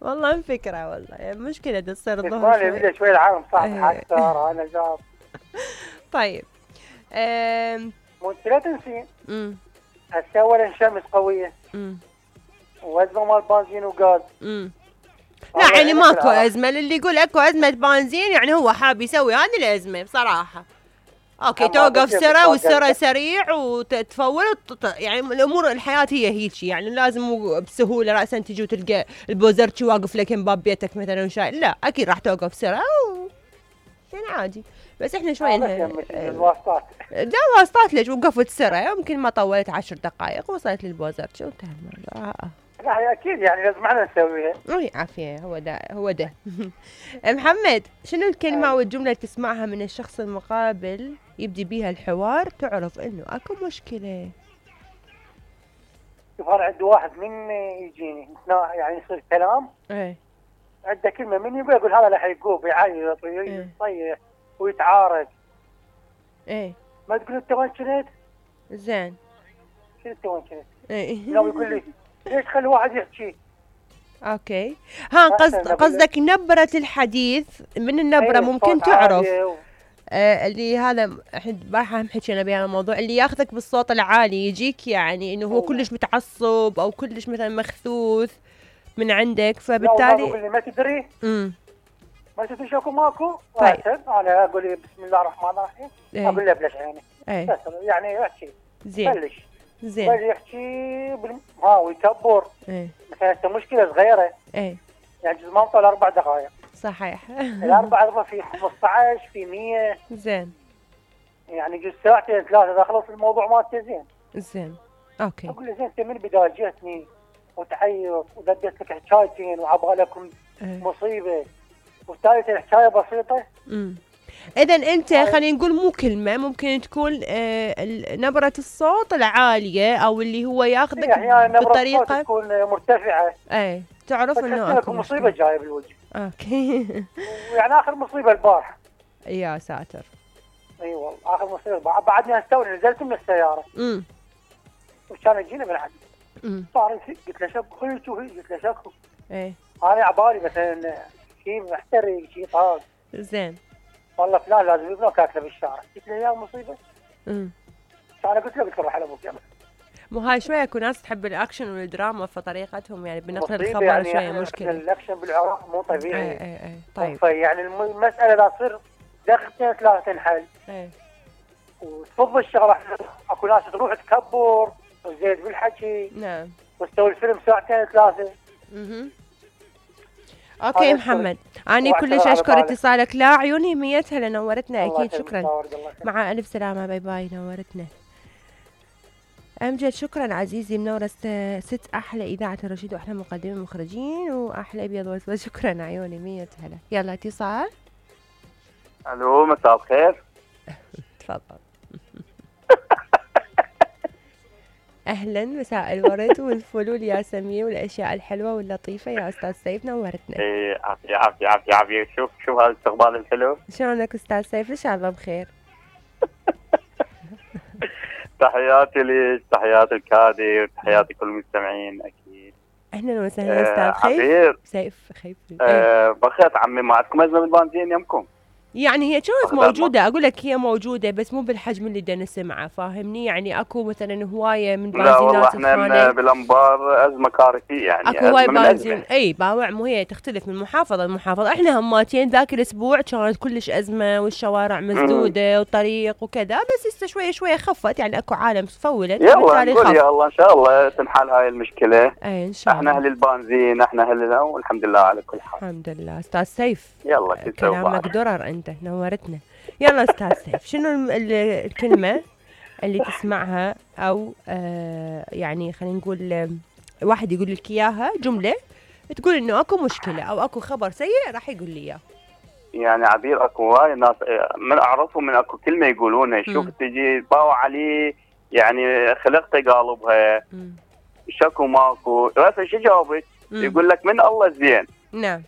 والله فكرة والله يعني مشكلة تصير الظهر اسمعني بدي شوي العالم صح اكثر انا جاب. طيب وانت لا تنسين هسه اولا الشمس قوية وازمة مال بنزين وغاز. لا يعني ماكو ازمة، اللي يقول اكو ازمة بنزين يعني هو حاب يسوي هذه الازمة بصراحة. اوكي توقف سرة والسرة سريع وتتفول يعني الامور الحياة هي هيجي، يعني لازم بسهولة رأسا تجي وتلقى البوزرتشي واقف لك باب بيتك مثلا وشاي، لا اكيد راح توقف سرة يعني عادي. بس احنا شوي الواسطات لا واسطات ليش وقفت سرة يمكن ما طولت 10 دقائق وصلت للبوزرتشي وانتهى الموضوع. لا اكيد يعني لازم احنا نسويها. اي عافية هو ده محمد شنو الكلمة والجملة اللي تسمعها من الشخص المقابل يبدي بيها الحوار تعرف انه اكو مشكلة؟ شوف انا عندي واحد من يجيني يعني يصير كلام عنده كلمة من يبغى يقول هذا راح يقوب يعيط ويصيح ويتعارك. ما تقول انت وين كنت؟ زين شنو انت وين كنت؟ لو يقول لي ليش خلي واحد يحكي؟ اوكي ها قصدك نبرة الحديث من النبرة ممكن تعرف اللي هذا البارحة هم حكينا بهذا الموضوع، اللي ياخذك بالصوت العالي يجيك يعني انه هو كلش متعصب او كلش مثلا مخثوث من عندك فبالتالي ما تدري ما تدري شوكو ماكو. طيب انا اقول له بسم الله الرحمن الرحيم اقول له بلش يعني يعني يحكي زين بلش يحكي ويكبر مثلا انت مشكله صغيره يعني جزء ما طول 4 دقائق صحيح الاربع في 15 في 100 زين يعني جزء ساعتين 3 اذا خلص الموضوع مالته زين اوكي اقول له زين انت من البدايه جيتني وتعيط وددت لك حكايتين وعبالكم مصيبه وثالث الحكايه بسيطه. اذا انت خلينا نقول مو كلمه ممكن تكون نبره الصوت العاليه او اللي هو ياخذك يعني بطريقه تكون مرتفعه تعرف انه اكو مصيبه جايه بالوجه. اوكي يعني اخر مصيبه البارحه يا ساتر. اي والله اخر مصيبه بعدني استوي نزلت من السياره وكان يجينا بالعكس صار قلت له شب خليك قلت له شكو انا عبالي مثلا شيء محترق شيء طاق زين والله فلان لازم يبنوك اكله بالشارع. قلت له يا مصيبه انا قلت له روح على ابوك يلا. مو هاي شويه اكو ناس تحب الاكشن والدراما فطريقتهم يعني بنقل الخبر يعني شويه مشكله. الاكشن بالعراق مو طبيعي. اي طيب يعني المساله اذا تصير دقيقتين 3 تنحل وتفض الشغله. اكو ناس تروح تكبر وزيد بالحكي نعم وتسوي الفيلم 2 3 اوكي محمد اني كلش اشكر اتصالك. لا عيوني ميتها لنورتنا اكيد شكرا مع الف سلامه باي باي نورتنا امجد. شكرا عزيزي منورة ست احلى اذاعه الرشيد واحلى مقدمين مخرجين واحلى ابيض واسود. شكرا عيوني مية هلا. يلا اتصال. الو مساء الخير. تفضل. اهلا مساء الورد والفل والياسمين والاشياء الحلوه واللطيفه يا استاذ سيف نورتنا. ايه عافيه شوف هذا الاستقبال الحلو. شلونك استاذ سيف؟ ان شاء الله بخير. تحياتي لك تحياتي الكادي وتحياتي كل المستمعين اكيد. اهلا وسهلا استاذ سيف خيف. بخير عمي ما عندكم ازمه بالبنزين يمكم؟ يعني هي كانت موجودة أقول لك هي موجودة بس مو بالحجم اللي بدنا نسمعه فاهمني. يعني أكو مثلا هواية من بنزينات. لا والله احنا بالأنبار أزمة كارثية يعني أكو هواي بنزين أي باوع مو هي تختلف من محافظة لمحافظة. احنا هماتين ذاك الأسبوع كانت كلش أزمة والشوارع مسدودة وطريق وكذا بس هسه شوية خفت يعني أكو عالم فولت. يلا نقول يا الله إن شاء الله تنحل هاي المشكلة. أي إن شاء الله. احنا أهل البنزين احنا أهلنا والحمد لله على كل حال. الحمد لله أستاذ سيف. يلا كلامك درر أنت نورتنا. يلا استاذ سيف شنو الكلمة اللي تسمعها او يعني خلينا نقول واحد يقول لك اياها جملة تقول انه اكو مشكلة او اكو خبر سيء راح يقول لي اياه. يعني عبير اكو هواي ناس من اعرفهم من اكو كلمة يقولونها شوف تجي باوع عليه يعني خلقته قالبها شكو ماكو بس شو جاوبك؟ يقول لك من الله زين. نعم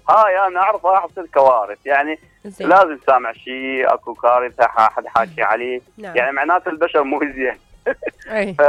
هاي انا اعرف راح تصير كوارث يعني زين. لازم سامع شيء اكو كارثه حد حاكي عليه. نعم. يعني معناته البشر مو زين.